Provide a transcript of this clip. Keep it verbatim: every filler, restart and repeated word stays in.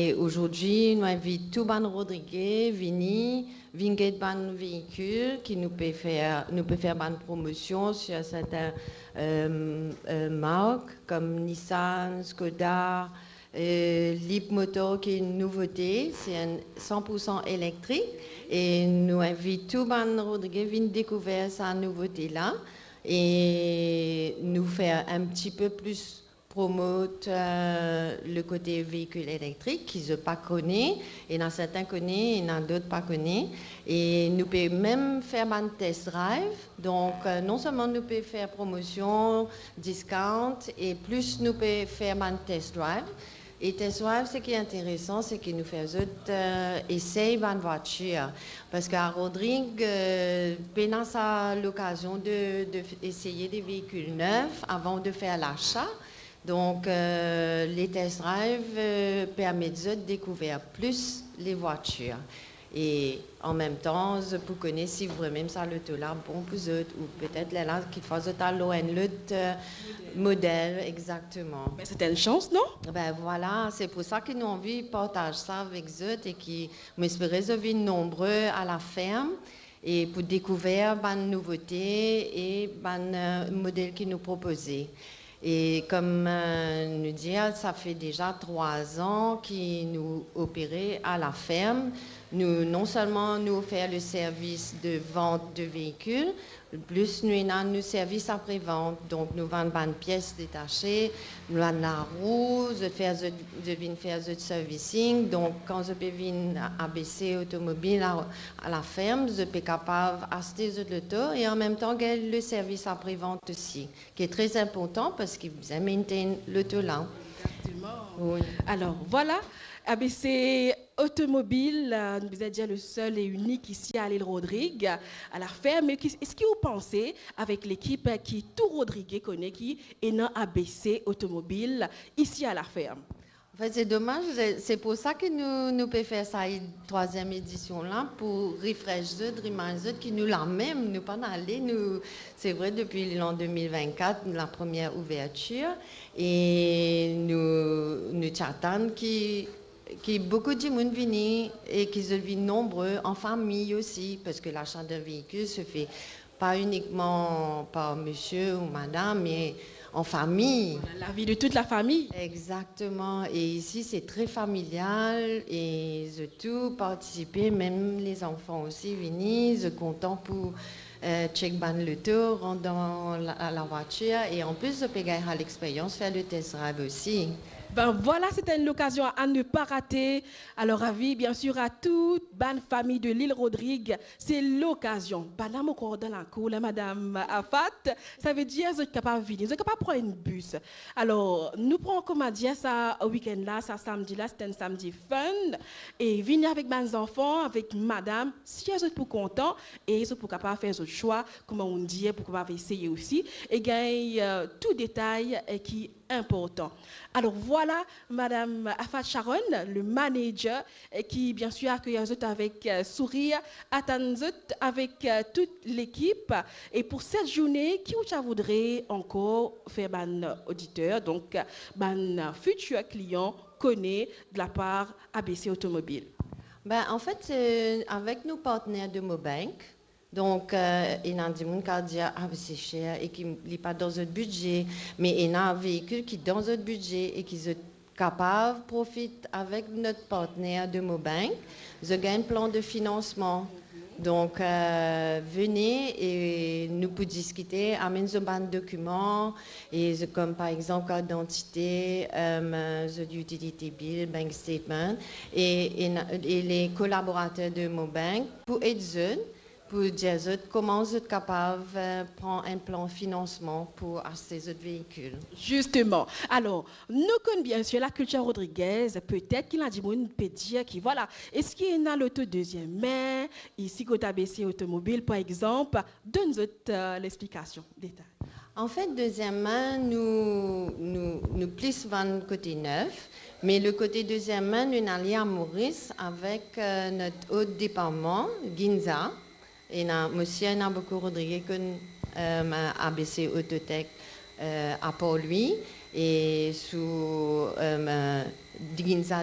E azordi, nou invit tou bann Rodrige vini, vinn get bann veikil ki nou pe fer, nou pe fer bann promosion sur sertin, euh, euh, mark, kom Nissan, Skoda, euh, Leapmotor ki enn nouvote, se enn san pour san elektrik. E nou invit tou bann Rodrige vinn dekouver sa nouvote la. E nou fer enn ti pe plis promot, euh, le kote veikil elektrik ki zot pa kone, ena sertin kone, ena dot pa kone. E nou pe mem fer bann test drive. Donk, euh, non selman nou pe fer promosion, discount, e plis nou pe fer bann test drive. E test drive, seki interesan, seki nou fer zot, euh, esey bann vwatir. Parski a Rodrig, euh, pena sa lokazion de, de eseye de veikil nef avan de fer lasa. Donk, euh, le test drive, euh, permet zot dekouver plis le vwatir. E an mem tan, zot pou kone si vremem sa loto la bon pou zot, ou petet lerla kikfwa zot al lor enn lot, euh, model, exakteman. Me se enn sans, non? Ben vwala, se pou sa ki nou anvi partaz sa avek zot e ki mo espere zot vinn nonbre a laferm e pou dekouver bann nouvote e bann, euh, model ki nou propoze. E kom, euh, nou dir, sa fer deza trwa an ki nou opere a laferm. Nou, non selman nou ofer le servis de vant de veikil, plis nou ena nou servis aprevant. Donk, nou vann bann pies detase, nou vann larou, zot fer zot, zot vinn fer zot servicing. Donk, kan zot pe vinn A B C Otomobil a, a laferm, zot pe kapav aste zot loto e an mem tan gagn le servis aprevant osi, ki tre inportan parski bizin maintain loto la. Exactement. Wi. Alors, voilà, A B C Otomobil, euh, nou bizin dir le sel e inik isi a Lil Rodrig, a laferm. Me ki, eski ou panse avek lekip ki tou Rodrige kone ki ena A B C Otomobil isi a laferm? Anfet, se domaz, se, se pou sa ki nou, nou pe fer sa e-, trwaziem edision la, pou refresh zot, remind zot ki nou la mem, nou pa'nn ale, nou, se vre, depi lan de mil vennkat, la premie ouvertir, e nou, nou ti atann ki, ki boukou dimoun vini e ki zot vinn nonbre an fami osi, parski lasa de veikil se fer pa inikman par misie ou madam, me an fami. Voilà, la vie de toute la famille. Exactement. E isi, se tre familial e zot tou partisipe, mem lezanfan osi vini, zot kontan pou, euh, check bann loto, rant dan la, lavwatir e an plis, zot pe gagn sa lexperyans, fer le test drive osi. Ben voilà, c'est une occasion à ne pas rater. Alors, avis, bien sûr, à toute bann fami de Lil Rodrig, se lokazion. Bann la mo krwar dan lakour la, Madam Afat, savedir zot kapav vini, zot kapav pran enn bis. Alor, nou pran, kouma dir, sa wikenn la, sa samdi la, se enn samdi fun. E vini avek bann zanfan, avek madam, si zot pou kontan, e zot pou kapav fer zot swa, kouma nou dir, pou kapav eseye osi, e gagn, euh, tou detay, euh, ki inportan. Alor, vwala, Madam Afat Sharon, le manager, eh, ki, bien sûr, akeyir zot avek, eh, sourir, atann zot avek, eh, tout lekip. E pou set zourne, ki ou ti a voudre ankor fer bann oditer, donk, bann fitir klian kone de lapar A B C Otomobil? Ben, anfet, eh, avek nou partner de Mobank, donk, eh, ena dimoun ki a dir, "Ah, me se ser e ki li pa dan zot bidze," me ena veikil ki dan zot bidze e ki zot kapav profit avek not partner de Mobank. Zot gagn plan de finansman. Donk, eh, vini e nou pou diskite, amenn zot bann dokiman, e zot, kom par exanp, kart didantite, em, zot utility bill, bank statement, e, e na-, e le kolaborater de Mobank pou ed zot pou dir zot kouma zot kapav, eh, pran enn plan finansman pou aste zot veikil. Justement. Alor, nou konn bien sir lakiltir rodrigez, petet ki ena dimoun pe dir ki, vwala, eski ena loto deziem min, isi kot A B C Otomobil, par exanp, donn zot, eh, lexplikasion, detay. Anfet, deziem min, nou, nou, nou plis vann kote nef, me le kote deziem min, nou ena li a Moris avek, eh, not ot departman, Ginza. Ena, mo sir ena boukou Rodrige konn, eh, A B C Autotech, eh, apar li, e sou, eh, Ginza